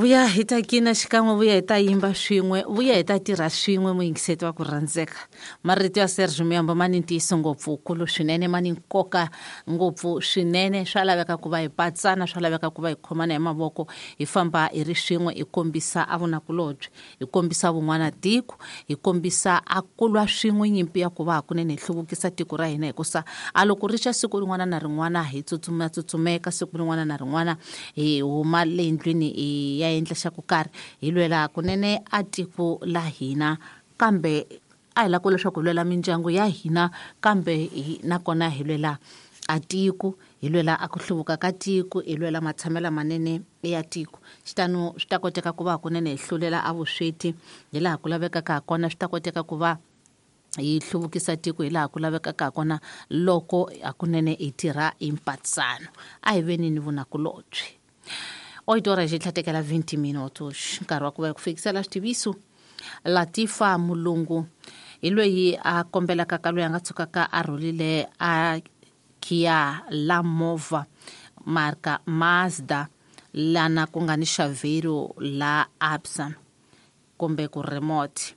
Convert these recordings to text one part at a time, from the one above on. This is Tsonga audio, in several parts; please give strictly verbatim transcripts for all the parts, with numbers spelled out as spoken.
Vuya hi ta kina xikan'we, vuya hi ta yimba swin'we, vuya hi ta tirha swin'we, muyingiseti wa ku rhandzeka. Marito ya Serge Muyambo ma ni ntiyiso ngopfu kulu swinene, ma ni nkoka ngopfu swinene. Swa laveka ku va hi patsana, swa laveka ku va hi khomana hi mavoko, hi famba hi ri swin'we, hi kombisa a vunakulobye, hi kombisa vun'wana tiko, hi kombisa a kulwa swin'we nyimpi ya ku va hakunene hi hluvukisa tiko ra hina. Hikusa a loko ri xa siku rin'wana na rin'wana hi tsutsuma tsutsumeka, siku rin'wana na rin'wana hi huma le ndlwini hi ya endla xa ku karhi, hi lwela kunene a tiko la hina, kambe a hi lava ku leswaku hi lwela mindyangu ya hina, kambe nakona hi lwela a tiko, hi lwela a ku hluvuka ka tiko, hi lwela matshamelo manene ya tiko. Xitano swi ta koteka ku va kunene hi hlulela a vusweti hi laha ku lavekaka ha kona, swi ta koteka ku va hi hluvukisa tiko hi laha ku lavekaka ha kona loko hakunene hi tirha hi mpatsano. A hi veni ni vunakulobye. Oito horas e tlhatekela vinte minutos, nkarhi wa ku va hi ku fikisela xitiviso. Latifa Mulungu hi loyi a kombelaka ka loyi a nga tshukaka a rhulile a Kia la movha marka Mazda lana ku nga ni xavhero la Absa kumbe ku remote.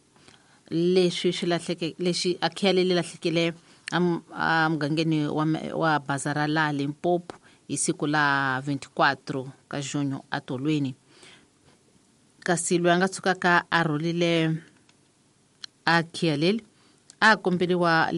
Leswi swi lahleke, lexi a Kia leyi lahlekile a mugangeni wa, wa bazara la Limpopo hi siku la vinte e quatro ka junho atolweni. Kasi loyi a nga tshukaka a rhulile a Kia leli a komberiwa